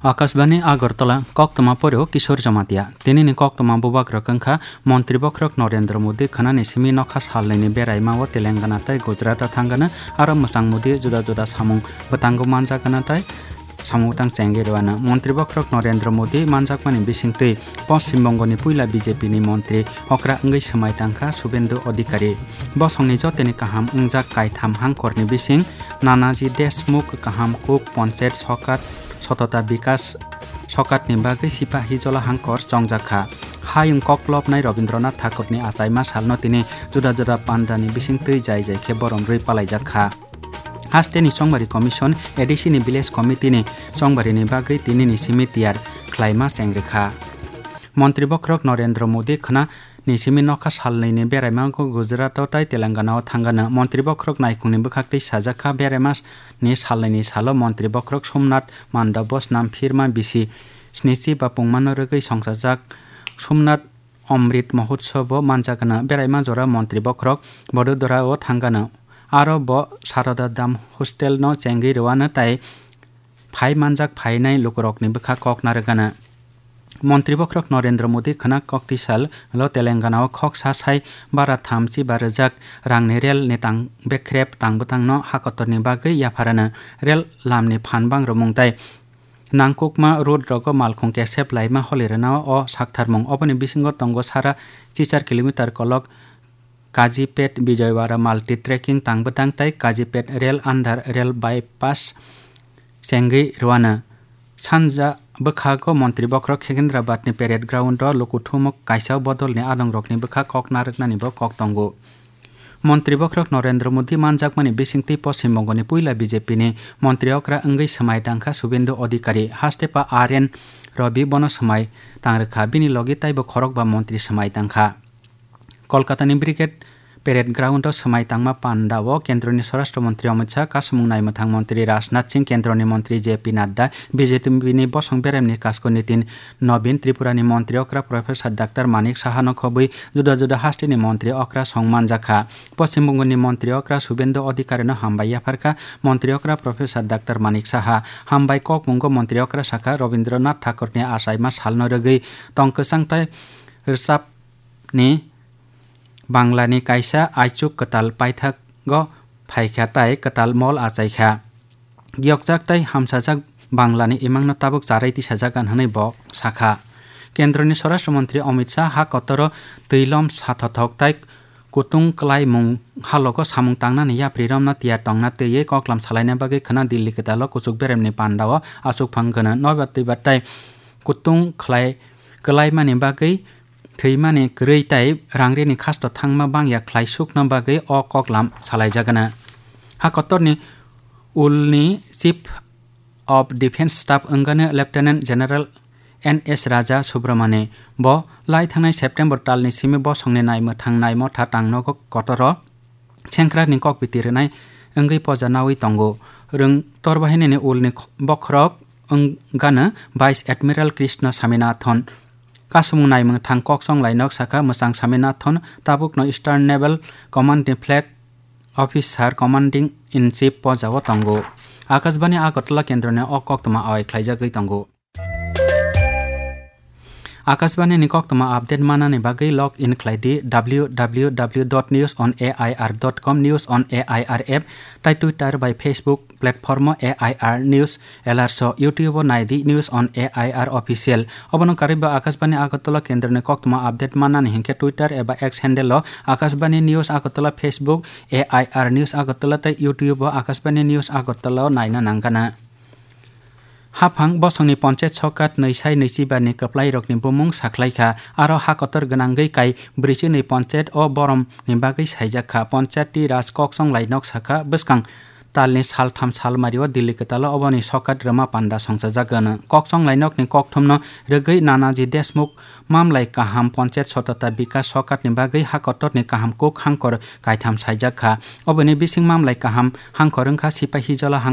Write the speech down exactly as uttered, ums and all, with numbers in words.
Akashbani Agartala, koktwma poreo Kishore Jamatia. Tinini koktwma bubagrok wngkha Montri Bokhorok Narendra Modi khwnani simi nokha salnwini beraima o Telangana tei Gujarat o thangano aro mwchang Modi juda juda samung bwtango manjagana tei samung bwtang chengwi rwano. Montri Bokhorok Narendra Modi manjakmani bisingtwi Poschim Bongoni puila B J P ni montri okra wngwi swmai tangkha Subendu Adhikari. Bosongni jotoni kaham wngjak kaitham hangkorni bising Nanaji Deshmukh kaham kuk ponchayat sokat Sotota Bikas sokatni bagwi Sipahijola hangkor chongjak kha. Hayung koklopnai Rabindranath Thakurni achaima salno tini juda juda pandani bisingtwi jai jai khe borom rwi palaijak kha. Hasteni Chongbari Commission, A D C ni Village Committee ni chongbarini bagwi tinini simi tiyar khlaima cheng rwkha. Montri Bokhorok Narendra Modi khwnani simi nokha salnwini beraima Gujarat o tei Telangana o thangano. Montri Bokhorok naikhungni bwkhaktwi sajak kha, beraima ni salnwini salo Montri Bokhorok Somnath Mandap o snam phirma bisi snichi bapungmano rwgwi songchajak Somnath Amrit Mahotsav o manjagano. Beraima jora Montri Bokhorok Vadodara o thangano. Aro bo Sarada Dham hostel no chengwi rwano tei phai manjak phainai lukurokni bwkha kok narwgano. Montri Bokhorok Narendra Modi khwna kok tisal lo Telangana o khok sa sai bara thamchi ba rwjak rangni rel ni tang bekrep tang bwtangno hakotorni bagwi yapharano. Rel lamni phan bang rwmung tei nangkukma road rogo malkhung kesep laima holi rwna o saktharmung. Oboni bisingo tongo sara chichar kilometer kolok Kazipet Vijayawada multi trekking tang bwtang tei Kazipet rel under rel bypass chengwi rwano. Sanja bwkhago Montri Bokhorok Secunderabad ni parade ground o lukuthumuk kaisa bodol ni adongrokni bwkha kok narwknani bo kok tongo. Montri Bokhorok Narendra Modi manjakmani bisingtwi Poschim Bongoni puila B J P ni montri okra wngwi swmai tangkha Subendu Adhikari. Haste pa R N Ravi bono swmai tangrwkha, bini logi taibo khorokba montri swmai tangkha. Kolkatani Brigade Parade Ground o swmai tangma panda o Kendroni Swarashtra Montri Amit Shah, Kasumung Naimwthang Montri Rajnath Singh, Kendroni Montri J P Nadda, B J P ni bosong beremni kasko Nitin Nobin, Tripurani Montri okra Professor Doctor Manik Saha no khobwi juda juda hasteni montri okra song manjakha. Poschim Bongoni montri okra Subendu Adhikari no hambai yapharkha montri okra Professor Doctor Manik Saha. Hambai kokmungo montri okra sakha Rabindranath Thakurni achaima salno rwgwi tong kwchang tei rwchap ni Banglani kaisa aichuk kwtal paithago phaikha tai kwtal mol achaikha. Giyokjak tai hamsajak Banglani imangno tabuk charai tisajak gan hwnwi bo sakha. Kendroni Swarashtra Montri Amit Shah ha kotoro twilom sathothok tai kutung kwlaimung halogo samung tangnani yapri romno tiyar tongna twiwi koklam salaina bagwi khwna Delhi kwtalo kuchuk beremni pandao achukphang gwnang nobar twibar tai kutung khlai kwlaimani bagwi thwimani kwrwi tei rangrini khasto thangma bangya khlai sukna bagwi o koklam salaijagana. Ha kotorni ulni Chief of Defence Staff wngani Lieutenant General N S Raja Subramani bo lai thangnai September talni simi bosongni naimwthang naimotha tangnogo kotoro sengkrakni kokbiti rwnai wngwi poja naui tongo. Rwng torbahinini ulni bokhorok wngano Vice Admiral Krishna Swaminathan. Kasumung naimwthang koksong lainok sakha mwchang Swaminathan tabukno Eastern Naval Command ni Flag Officer Commanding in Chief pojao tongo. Akashbani Agartala kendroni o koktwma awai khlaijagwi tongo. Akashbani ni koktwma update manani bagwi log in khlai di W W W dot news on A I R dot com, News on A I R app, tai Twitter bai Facebook platform o A I R News Alerts o, YouTube o nai di News on A I R Official. Obono karwi bo Akashbani Agartala kendroni koktwma update manani hinkhe Twitter eba X handle o Akashbani News Agartala, Facebook A I R News Agartala tei YouTube o Akashbani News Agartala o naina nangana. Haphang bosongni ponchayat sokat nwi sai nwi chibarni kwplairokni bumung sakhlaikha, aro ha kotor gwnangwi kai brwichi nwi ponchayat o boromni bagwi saijakha. Ponchayati Raj koksong lainok sakha, bwskang talni saltham salmario Delhi kwtalo oboni sokat rwma panda songchajak gwnang. Koksong lainokni kokthumno rwgwi Nanaji Deshmukh mamlai kaham ponchayat sotota bikas sokatni bagwi ha kotorni kaham kuk hangkor kaitham saijak kha. Oboni bising mamlai kaham hangkor wngkha Sipahijola hangkor.